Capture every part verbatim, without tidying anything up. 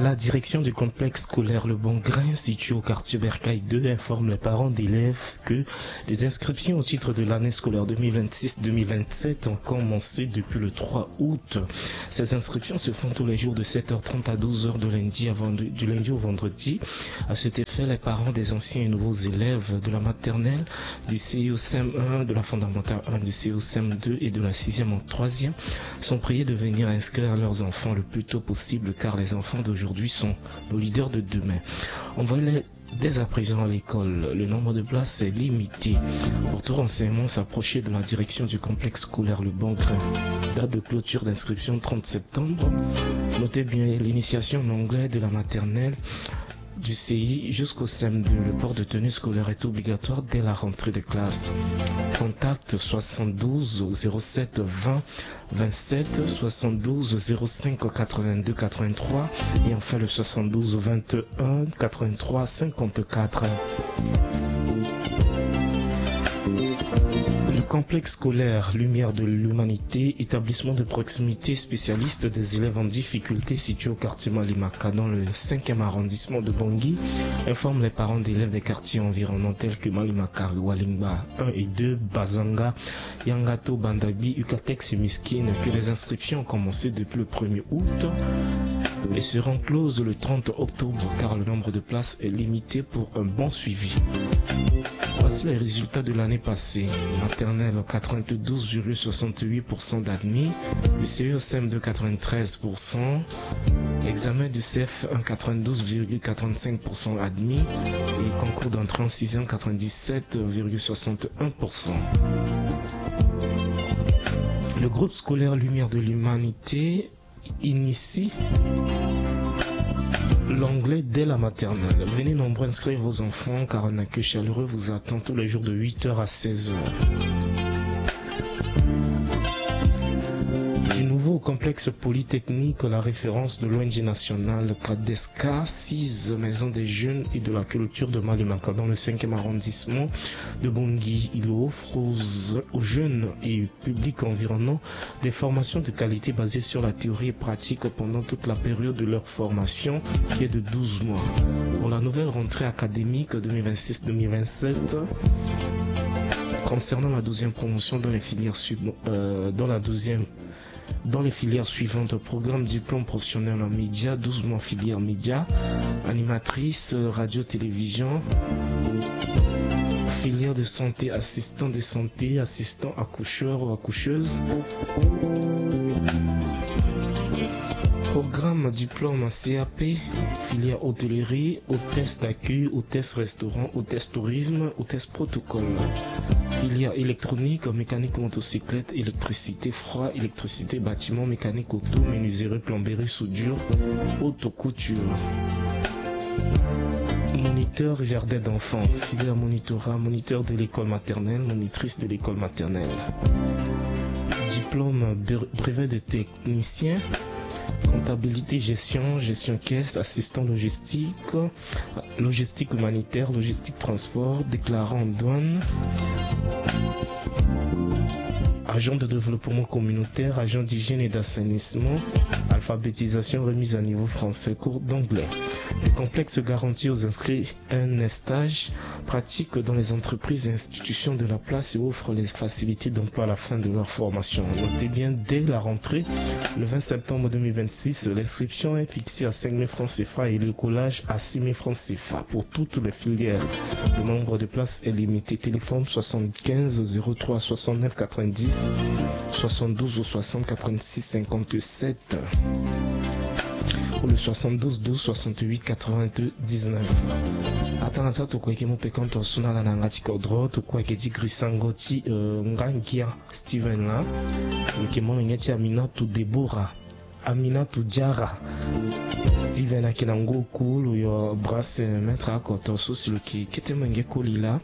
La direction du complexe scolaire Le Bon Grain, situé au quartier Bercail deux, informe les parents d'élèves que les inscriptions au titre de l'année scolaire deux mille vingt-six deux mille vingt-sept ont commencé depuis le trois août. Ces inscriptions se font tous les jours de sept heures trente à douze heures de lundi à vendre-, du lundi au vendredi. À cet effet, les parents des anciens et nouveaux élèves de la maternelle, du C I au C M un, de la fondamentale un, du C I au C M deux et de la sixième en troisième sont priés de venir inscrire leurs enfants le plus tôt possible, car les enfants d'aujourd'hui sont nos leaders de demain. Envoyez-les dès à présent à l'école. Le nombre de places est limité. Pour tout renseignement, s'approcher de la direction du complexe scolaire Le Bon Grain. Date de clôture d'inscription trente septembre. Notez bien l'initiation en anglais de la maternelle, du C I jusqu'au C M deux. Le port de tenue scolaire est obligatoire dès la rentrée des classes. Contact soixante-douze zéro sept vingt vingt-sept, soixante-douze zéro cinq quatre-vingt-deux quatre-vingt-trois et enfin le soixante-douze vingt et un quatre-vingt-trois cinquante-quatre. Le complexe scolaire Lumière de l'Humanité, établissement de proximité spécialiste des élèves en difficulté, situé au quartier Malimaka, dans le cinquième arrondissement de Bangui, informe les parents d'élèves des quartiers environnants tels que Malimaka, Walingba un et deux, Bazanga, Yangato, Bandabi, Ukatex et Miskine que les inscriptions ont commencé depuis le premier août et seront closes le trente octobre, car le nombre de places est limité pour un bon suivi. Voici les résultats de l'année passée. Maternelle, quatre-vingt-douze virgule soixante-huit pour cent d'admis. Du C E C M deux, quatre-vingt-treize pour cent. Examen du C F un, quatre-vingt-douze virgule quatre-vingt-cinq pour cent admis. Et concours d'entrée en sixième, quatre-vingt-dix-sept virgule soixante et un pour cent. Le groupe scolaire Lumière de l'Humanité initie l'anglais dès la maternelle. Venez nombreux inscrire vos enfants, car un accueil chaleureux vous attend tous les jours de huit heures à seize heures. Du nouveau complexe polytechnique, la référence de l'O N G nationale Kadesca, six maisons des jeunes et de la culture de Malimaka, dans le cinquième arrondissement de Bangui. Il offre aux, aux jeunes et public environnant des formations de qualité basées sur la théorie et pratique pendant toute la période de leur formation, qui est de douze mois. Pour la nouvelle rentrée académique deux mille vingt-six deux mille vingt-sept, concernant la douzième promotion dans les filières sub-, euh, dans la douzième, dans les filières suivantes: programme diplôme professionnel en médias, douze mois filière médias, animatrice, euh, radio, télévision, filière de santé, assistant de santé, assistant accoucheur ou accoucheuse, programme diplôme C A P, filière hôtellerie, hôtesse d'accueil, hôtesse restaurant, hôtesse tourisme, hôtesse protocole, filière électronique, mécanique motocyclette, électricité, froid, électricité, bâtiment, mécanique auto, menuiserie, plomberie, soudure, haute couture. Moniteur jardin d'enfants, filière monitorat, moniteur de l'école maternelle, monitrice de l'école maternelle. Diplôme bre-, brevet de technicien, comptabilité, gestion, gestion caisse, assistant logistique, logistique humanitaire, logistique transport, déclarant en douane, agent de développement communautaire, agent d'hygiène et d'assainissement, alphabétisation, remise à niveau français, cours d'anglais. Le complexe garantit aux inscrits un stage pratique dans les entreprises et institutions de la place et offre les facilités d'emploi à la fin de leur formation. Notez bien, dès la rentrée, le vingt septembre deux mille vingt-six, l'inscription est fixée à cinq mille francs C F A et le collage à six mille francs C F A pour toutes les filières. Le nombre de places est limité. Téléphone soixante-quinze zéro trois soixante-neuf quatre-vingt-dix, soixante-douze ou soixante quatre-vingt-six cinquante-sept ou le soixante-douze douze soixante-huit quatre-vingt-dix-neuf. Atanga ti tokue yeke mu peko tongaso na ala na yanga ti kodro, tokue yeke ti grisango ti, euh, ngangia Steven laa. Lo yeke molenge ti Aminatu Deborah. Aminatu Diarra. Steven ayeke na ngoi oku, lo yo brasse maître akoto so si lo yeke kete molenge koli laa.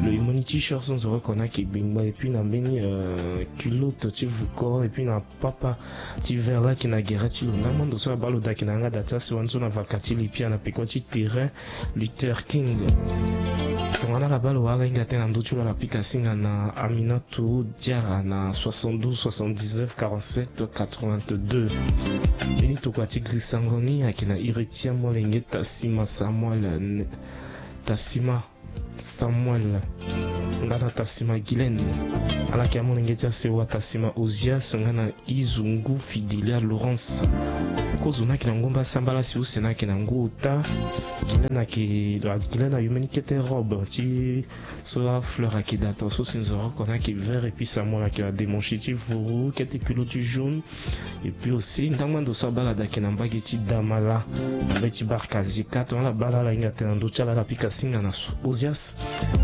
Lo yeke mu ni T-shirt so nzoro oko ni ayeke gbengba, et puis na mbeni, euh, culotte ti vuko, et puis na papa ti vert laa ayeke na gere ti lo. Ndangba ndo so abaa lo daa ayeke na yanga da ti asewa ni so na vaka ti lipia na peko ti terrain Luther King. Tongana ala baa lo wala hinga tënë na ndö ti lo, ala pika singa na Aminatu Diarra na soixante-douze soixante-dix-neuf quarante-sept quatre-vingt-deux. Mbeni tokua ti girisango ni ayeke na iri ti amolenge Tasima Samuel, Tasima Samuel nga na Tasima Guylaine. Ala yeke amolenge ti asewa Tasima Ozias nga na Izungu Fidelia Laurence. Kozo ni ayeke na ngu mbasambala si use ni ayeke na ngu ota. Guylaine ayeke, Guylaine ayo mbeni kete robe ti so afleur ayeke daa to so si nzoro oko ni ayeke vert, et puis Samuel ayeke na demonche ti vuru, kete culotte ti jaune. Et puis aussi ndangba ndo so abaa ala daa ayeke na mbage ti Damala, na mbage ti Barkazika. Tongana ala baa ala, ala hinga tënë na ndö ti ala, ala pika singa na so-, Ozias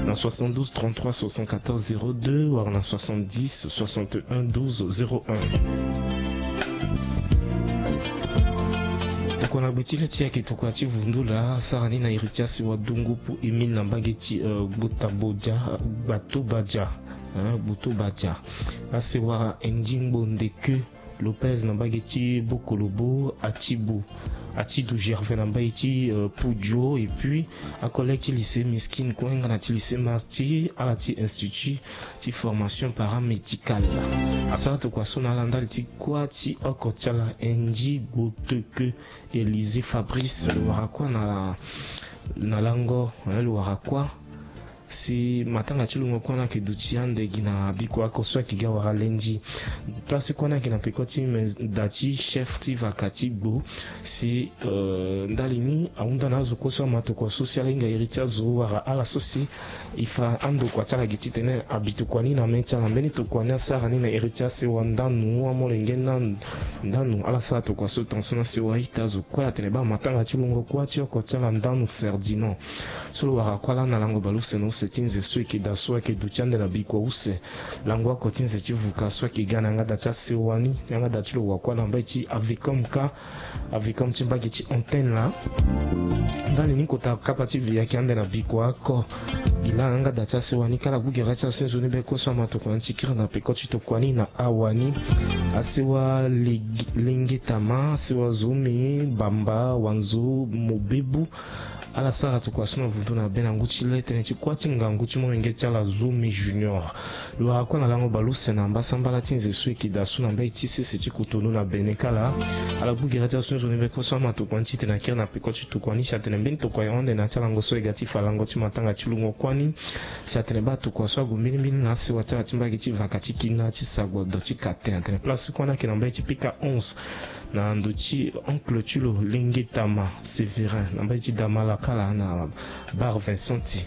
na soixante-douze trente-trois soixante-quatorze zéro deux wala na soixante-dix soixante-un douze zéro un. Tokua na gbe ti le ti e ayeke tokua ti vundu laa, asara ni na iri ti asewa Dungupu Émile na mbage ti, euh, Gbota Bodia, Gbato Badia, hein, Gboto Badia. Asewa Endingbo Ndeke Lopez na mbage ti Bokolobo, Atibu, Atidu Gervais na mbage ti, euh, Pudio, et puis acollègue ti lycée Miskine kue nga na ti lycée Martyr, ala ti institut ti formation paramédicale. Asara tokua so na ala ndali ti kuâ ti oko ti ala, N J Gboteke Élisée Fabrice, lo wara kuâ na, na lango, eh, lo wara kuâ si matanga ti lungo kuâ ni ayeke duti ande gi na bikua oko so ayeke ga wara lendi. Place kuâ ni ayeke na peko ti me da ti chef ti vaka ti gbo. Si, euh, ndali ni ahunda na azo kue so ama tokua so si ala hinga iri ti azo wala ala so si e fa andokua ti ala gi titene abi tokua ni na mê ti ala. Mbeni tokua ni asara ni na iri ti asewa Ndanu, amolenge Ndanu. Ala sara tokua so tongaso na sewa ita azo kue atene baa matanga ti lungo kuâ ti oko ti ala Ndanu Ferdinand. So lo wara kuâ laa na lango bale use na use ti nze so e yeke daa so ayeke duti ande na bikua use. Lango oko ti nze ti vuka so ayeke ga na yanga da ti asewa ni, yanga da ti lo wa kuâ na mbage ti Avicom ka, Avicom ti mbage ti Antenne laa. Ndali ni kota kapa ti ve ayeke ande na bikua oko. Gi laa yanga da ti asewa ni kâ ala gbu gere ti aso ni nzoni be kue so ama tokua ni ti kiri na peko ti tokua ni na awa ni. Asewa Legi-, Lengetama, asewa Zomi, Bamba, Wanzo, Mobebu. Ala sara tokua so na vundu na be na ngu ti le tënë ti kuâ ti ngangu ti molenge ti ala Zomi Junior. Lo wara kuâ na lango bale use na mbasambala ti nze so e yeke daa so na mbage ti sese ti Cotonou na Bénin kâ laa. Ala gbu gere ti aso ni nzoni be kue so ama tokua ni titene akiri na peko ti tokua ni si atene mbeni tokua ahon ande na ya ti alango so e ga ti fa lango ti matanga ti lungo kuâ ni. Si atene baa tokua so ague mbilimbili na asewa ti ala ti mbage ti vaka ti kina ti sagbodo ti katen atene place kuâ ni ayeke na mbage ti pika onze. Na ndo ti oncle ti lo Lengetama Sévérin na mbage ti Damala kâ laa na Bar Vincenti.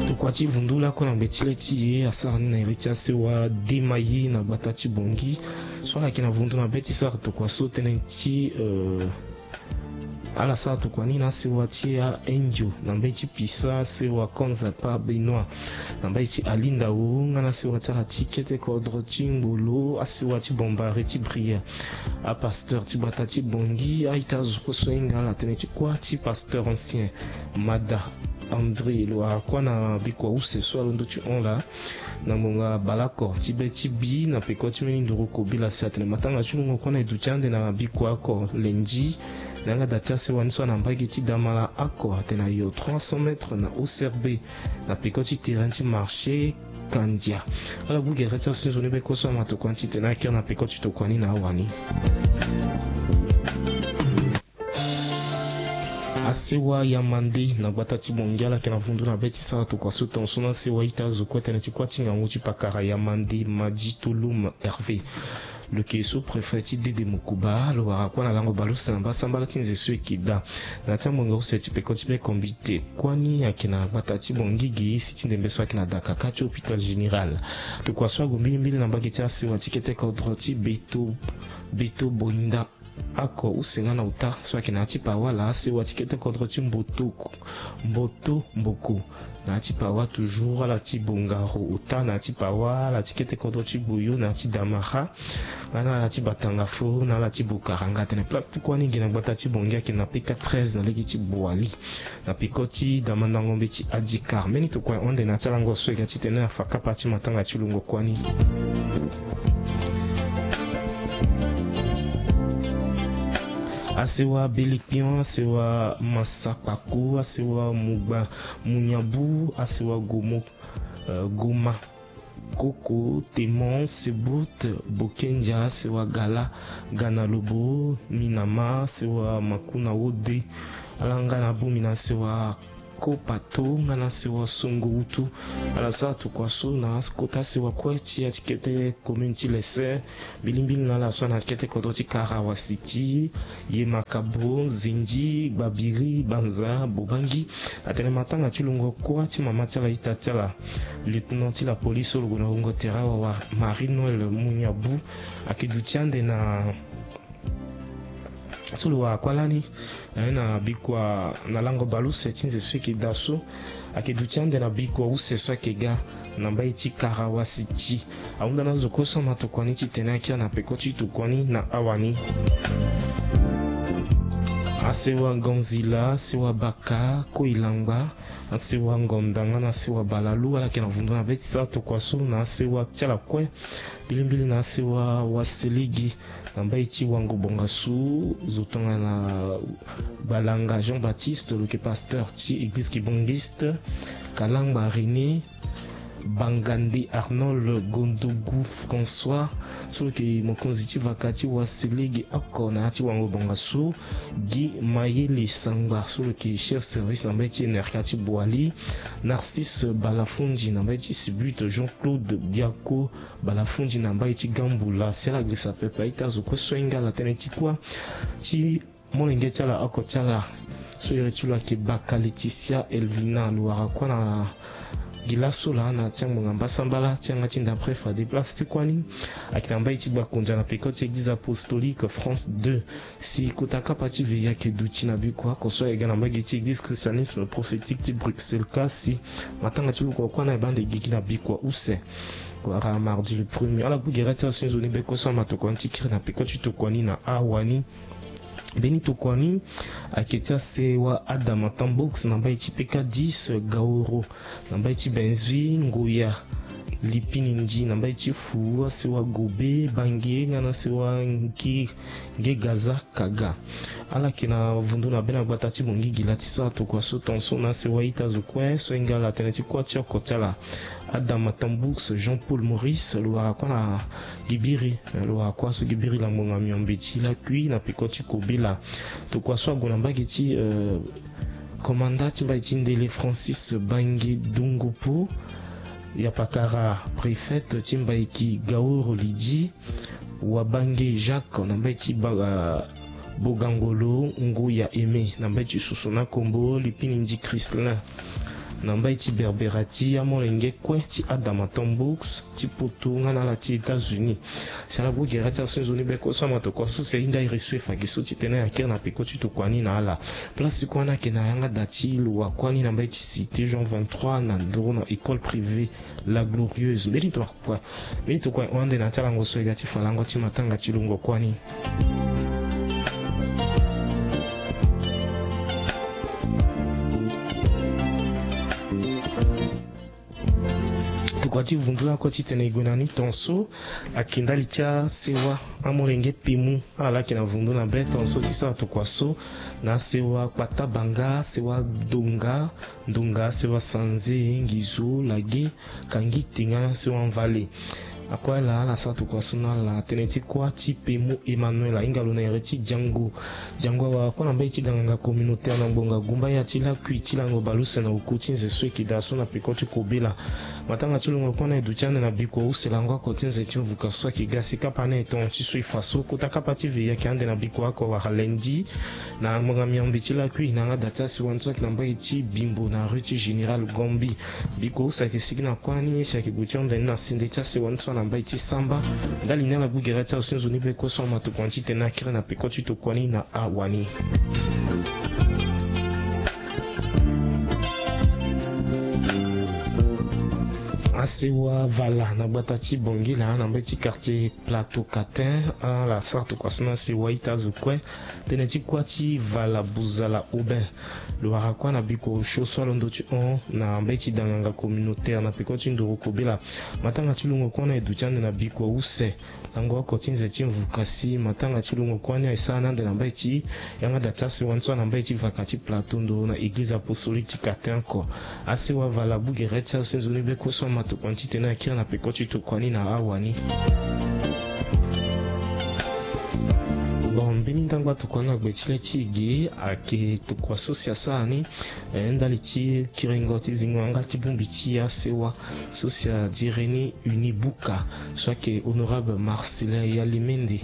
Tokua ti vundu lakue na ngbe ti le ti e asara ni na iri ti asewa Demaye na gbata ti Bongi. So ala yeke na vundu na be ti sara tokua so tënë ti, euh, ala sara tokua ni na asewa ti a-Indio na mbage ti Pisa, asewa Konzapa Benoît na mbage ti Alindao, nga na asewa ti ala ti kete kodro ti Ngolo, asewa ti Bombari ti Brière. Apasteur ti gbata ti Bongi, a-ita azo kue so ahinga ala tënë ti kuâ ti pasteur ancien Mada André lo wara kuâ na bikua use so alondo ti hon laa. Na ngbonga baleoko ti be ti bi na peko ti mbeni nduru kobela si atene matanga ti lungo kue na e duti ande na bikua oko lendi. Na yanga da ti asewa ni so ana mbage ti Damala oko atene ayo trois cents mètres na O C R B na peko ti terrain ti marché Kandia. Ala gbu gere ti aso ni nzoni be kue so ama tokua ni titene akiri na peko ti tokua ni na awa ni. Asewa Yamande na gbata ti Bongi ala yeke na vundu na be ti sara tokua so tongaso na asewa ita azo kue tënë ti kuâ ti ngangu ti pakara Yamande Madi Tolum Hervé. Lo yeke sous-préfet ti Dede Mokuba, lo wara kuâ na lango bale use na mbasambala ti nze so e yeke daa. Na ya ti ambongo use ti peko ti be kombite kuâ ni ayeke na gbata ti Bongi gi si ti ndembe so ayeke na dakaka ti hôpital général. Tokua so ague mbilimbili na mbage ti asewa ti kete kodro ti Beto, Beto Boinda. Ako use nga na ota so ayeke na ya ti pawa ala, asewa ti kete kodro ti Mboto, Mboto Mboko. Na ya ti pawa toujours ala ti Bongaro ota, na ya ti pawa ala ti kete kodro ti Boyo, na ya ti Damara, nga na ala ti Batanga Fo, na ala ti Bokara. Nga atene place ti kuâ ni gi na gbata ti Bongi ayeke na P K treize na lege ti Boali, na peko ti damandango mbeti Adikar. Mbeni tokua ahon ande na ya ti alango so e ga titene afa kapa ti matanga ti lungo kuâ ni. Asewa Belikpion, asewa Masakpako, asewa Mugba Munyabu, asewa Gomo, eh, Goma, Koko, Temon, Sebut, Bokendia, asewa Gala, Gana Lobo, Minama, asewa Makuna Wode, ala nga na Bumina, asewa Kopato, nga na asewa Songo Wutu. Ala sara tokua so na kota asewa kue ti ya ti kete commune ti Lese, mbilimbili na ala so ana kete kodro ti Karawasi ti Yemakabo, Zindi, Gbabiri, Banza, Bobangi. Atene matanga ti lungo kuâ ti mama ti ala ita ti ala, lieutenant ti la police so lo gue na wungo tere awawa, Marie Noël Munyabu, ayeke duti ande na so lo wara kuâ lani, eh, na bikua na lango baleuse ti nze so e yeke daa so. Ayeke duti ande na bikua use so ayeke ga na mbai ti Karawasi ti. Ahunda na azo kue so ama tokua ni titene akiri na peko ti tokua ni na awa ni. Asewa Gonzila, asewa Baka, Koilangba, asewa Ngonda nga na asewa Balalu, ala yeke na vundu na be ti sara tokua so na asewa ti ala kue, mbilimbili na asewa Waseligi, na mbai ti Wango Bongasu, zo tongana Balanga Jean-Baptiste, lo yeke pasteur ti église kibongiste, Kalangba René, Bangande Arnold, Gondogu François, so lo yeke mokonzi ti vaka ti Waseligi oko na ya ti Wango Bongasu, Guy Mayele Sangba, so lo yeke chef service na mbai ti N R K ti Boali, Narcisse Balafundi na mbai ti Sibut, Jean-Claude Biako Balafundi na mbai ti Gambula. Si ala girisa pepe a-ita azo kue so ahinga ala tënë ti kuâ ti molenge ti ala, oko ti ala so iri ti lo ayeke Baka Laetitia Elvina, lo wara kuâ na gi laso laa na ti angbonga mbasambala ti yanga ti ndapre fade. Place ti kuâ ni ayeke na mbai ti Gbakondia na peko ti église apostolique France deux. Si kota kapa ti veillée ayeke duti na bikua oko so ayeke ga na mbage ti église christianisme prophétique ti Bruxelles. Kasi matanga ti lungo kuâ ni ayeke baa ande gigi na bikua use wala mardi le premier. Ala gbu gere ti aso ni nzoni be kue so ama tokua ni ti kiri na peko ti tokua ni na awa ni. Mbeni tokua ni ayeke ti asewa Adama Tambox na mbai ti P K dix, Gaoro na mbai ti Benzui, Ngoya, Lipinindi na mbai ti Fu, asewa Gobe, Bange nga na asewa Nge, Nge Gaza Kaga. Ala yeke na vundu na be na gbata ti Bongigila ti sara tokua so tongaso na asewa a-ita azo kue so ahinga ala tënë ti kuâ ti oko ti ala. Adama Tambox, Jean-Paul Maurice, lo wara kuâ na Gibiri, eh, lo wara kuâ so Gibiri langbonga miombe ti lakui na peko ti kobela. Tokua so ague na mbage ti, eh, komanda ti mbai ti Ndele Francis Bange Dungupu, Yapakara préfète ti mbai ki Gaoro Lydie, Wabange Jacques na mbai ti Ba-, ah, Bogangolo, Ngoya Aimé na mbai ti Soso na Kombo, Lipinindi Christelin na mbai ti Berbera, ti amolenge kue ti Adama Tambox ti Poto nga na ala ti États-Unis. Si ala gbu gere ti aso ni nzoni be kue so ama tokua so si ahinga iri so e fa gi so titene akiri na peko ti tokua ni na ala. Place ti kuâ ni ayeke na yanga da ti lo wara kuâ ni na mbai ti Cité Jean vingt-trois na nduru na école privée La Glorieuse. Mbeni tokua, mbeni tokua ahon ande na ya ti alango so e ga ti fa lango ti matanga ti lungo kuâ ni. Tokua ti vundu lakue titene e gue na ni tongaso ayeke ndali ti asewa amolenge Pemu. Ala yeke na vundu na be tongaso ti sara tokua so na asewa Kpata Banga, asewa Donga, Ndonga, asewa Sanze, Ngizo, Lage, Kangite nga na asewa Mvale. Akue ala, ala sara tokua so na ala tënë ti kuâ ti Pemu Emmanuel, ahinga lo na iri ti Diango. Diango awara kuâ na mbai ti ganganga communautaire na ngbonga gumba ya ti lakui ti lango baleuse na oku ti nze so e yeke daa so na peko ti kobela. Matanga ti lungo kuâ ni aye duti ande na bikua use lango oko ti nze ti mvuka so ayeke ga. Si kapa ni aye tongo ti so e fa so, kota kapa ti veillée ayeke ande na bikua oko wala lundi na ngbonga miombe ti lakui na yanga da ti asewa ni so ayeke na mbage ti Bimbo na rue ti Général Gombi. Bikua use ayeke sigi na kuâ ni si ayeke gue ti hunda ni na sende ti asewa ni so na mbai ti samba. Ndali ni ala gbu gere ti ala so nzoni be kue so ama tokua ni titene akiri na peko ti tokua ni na awani. Asewa vala na gbata ti Bangila na mbai ti quartier Plateau Catin, ala sara tokua so na asewa ita azo kue. Tënë ti kuâ ti vala buzala Aubin. Lo wara kuâ na biko osio so alondo ti hon na mbeti danganga communautaire na peko ti nduru kobela. Matanga ti lungo kuâ ni aye duti ande na biko use. Lango oko ti nze ti mvuka si matanga ti lungo kuâ ni aye sara ni ande na mbeti yanga da ti asewa ni so na mbeti vaka ti Plateau nduru na église apostolique ti Catin oko. Asewa vala gbu gere ti azo si nzoni be kue so ama tokua ni titene akiri na peko ti tokua ni na awani. Bon, mbeni ndangba tokua ni na gbe ti le ti e ge ayeke tokua so si asara ni, eh, ndali ti kiringo ti zingo yanga ti bongbi ti asewa so si adiri ni Uni Buka, so ayeke honorable Marcelin Yalimende.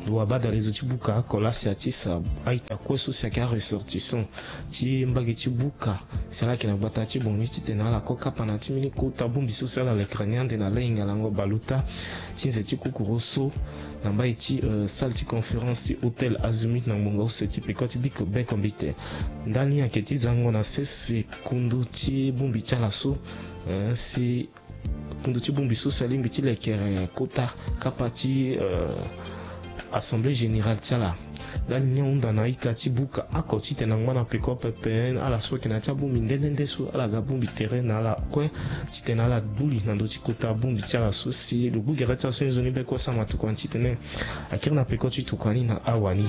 Lo abadale zo ti buka oko laa si atisa a-ita kue so si ayeke aressortissant ti mbage ti buka si ala yeke na gbata ti Bangui titene ala ko kapa na ya ti mbeni kota bongbi so si ala lekere ni ande na lahinga lango bale ota ti nze ti kokoro so na mbai ti, eh, salle ti conférence ti hôtel Azimut na ngbonga use ti peko ti biko bekombite. Ndali ni ayeke ti zango na sese kundu ti bongbi ti ala so, eh, si kundu ti bongbi so si alingbi ti lekere kota kapa ti, eh, assemblée générale ti ala. Ndali ni ahunda na a-ita ti buka oko titene angba na peko pepe ala so ayeke na ya ti abongbi nde nde nde so ala ga bongbi tere na ala kue titene ala gbu li na ndö ti kota bongbi ti ala so si lo gbu gere ti ala so nzoni be kue so ama tokua ni titene akiri na peko ti tokua ni na awani.